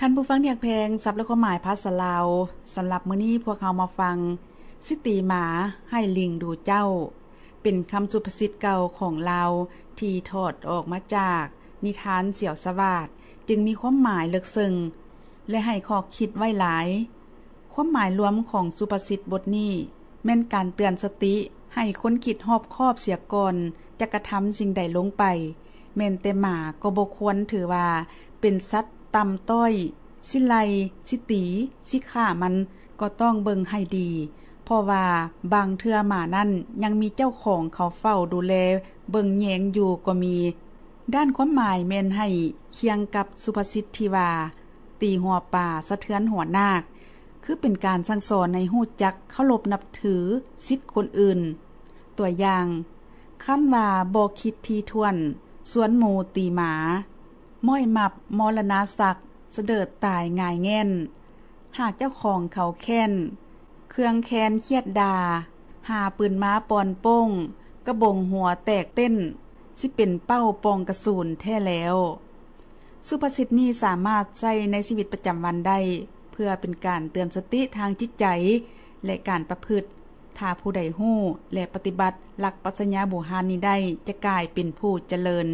ທ່ານຜູ້ຟັງທີ່ຮັກແພງ, ສັບ ແລະ ຄວາມໝາຍພາສາລາວ ສຳລັບມື້ນີ້ພວກເຮົາມາຟັງ ຊິຕີໝາໃຫ້ລິງດູເຈົ້າ ເປັນຄຳສຸພາສິດເກົ່າຂອງລາວ ທີ່ຖອດອອກມາຈາກນິທານສຽວສະຫວາດ ຈຶ່ງມີຄວາມໝາຍເລິກເຊິ່ງ ແລະ ໃຫ້ຂໍ້ຄິດໄວ້ຫຼາຍ. ຄວາມໝາຍລວມຂອງສຸພາສິດບົດນີ້ ແມ່ນການເຕືອນສະຕິໃຫ້ຄົນຄິດຮອບຄອບເສຍກ່ອນຈະກະທຳສິ່ງໃດລົງໄປ. ແມ່ນແຕ່ໝາກໍບໍ່ຄວນຖືວ່າເປັນສັດຕ່ຳຕ້ອຍ, ຊິໄລ່, ຊິຕີ, ຊິຂ້າມັນກໍຕ້ອງເບິ່ງໃຫ້ດີ, ເພາະວ່າບາງເທື່ອໝານັ້ນຍັງມີເຈົ້າຂອງເຂົາເຝົ້າດູແລເບິ່ງແຍງຢູ່ກໍມີ. ດ້ານຄວາມໝາຍແມ່ນໃຫ້ຄຽງກັບສຸພາສິດທີ່ວ່າ ຕີຫົວປາສະເທືອນຫົວນາກ ຄືເປັນການສັ່ງສອນໃຫ້ຮູ້ຈັກເຄົາລົບນັບຖືສິດຄົນອື່ນ. ຕົວຢ່າງ, ຄັນວ່າບໍ່ຄິດຖີ່ຖ້ວນ, ຊວນໝູຕີໝາ, ມ້ອຍມັບມໍລະນະສັກ, ສະເດີດຕາຍຫງາຍແງ່ນ, ຫາກເຈົ້າຂອງເຂົາແຄ້ນ, ເຄືອງແຄ້ນຄຽດດ່າ, ຫາປືນມາປ່ອນໂປ້ງ, ກະບົງຫົວແຕກເຕັ້ນ, ຊິເປັນເປົ້າປ່ອງກະສຸນແທ້ແລ້ວ. ສຸພາສິດນີ້ສາມາດໃຊ້ໃນຊີວິດປະຈຳວັນໄດ້ ເພື່ອເປັນການເຕືອນສະຕິທາງຈິດໃຈ ແລະ ການປະພຶດ. ຖ້າຜູ້ໃດຮູ້ ແລະ ປະຕິບັດຫຼັກປັດຊະຍາບູຮານນີ້ໄດ້ ຈະກາຍເປັນຜູ້ຈະເລີນ.